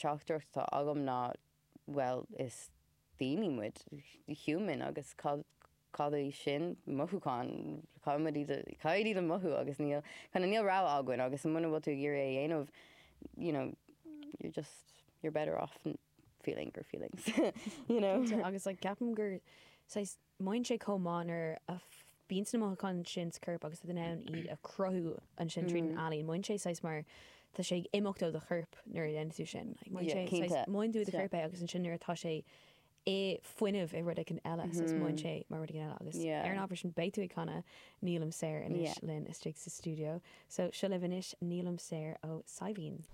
teachtaireacht atá agam ná bhuel is daoine muid, human agus cad cad é sin? Mothúcháin, caithfidh muid iad a caithfidh iad a mothú agus níl kind of níl rogha againn agus muna bhfuil tú ag iarraidh é a dhéanamh you know you're just you're better off feeling your feelings you know. Cinnte agus like ceapaim gur saghas Mothaíonn sé chomh maith nuair a bhíonn na mothúcháin sin sa chorp agus tú in ann iad a chruthú ansin tríd an ealaín. Mothaíonn sé saghas mar tá sé ag imeacht ó do chorp nuair a dhéanann tú sin. Like, mothaíonn sé saghas, mothaíonn tú i do chorp é agus ansin nuair atá sé i fuinneamh i rud éigin eile, saghas mothaíonn sé mar rud éigin eile. Agus ar an ábhar sin beidh tú ag canadh Nílim Saor anois linn istigh sa stiúideo. So seo libh anois Nílim Saor ó Saidhbhín.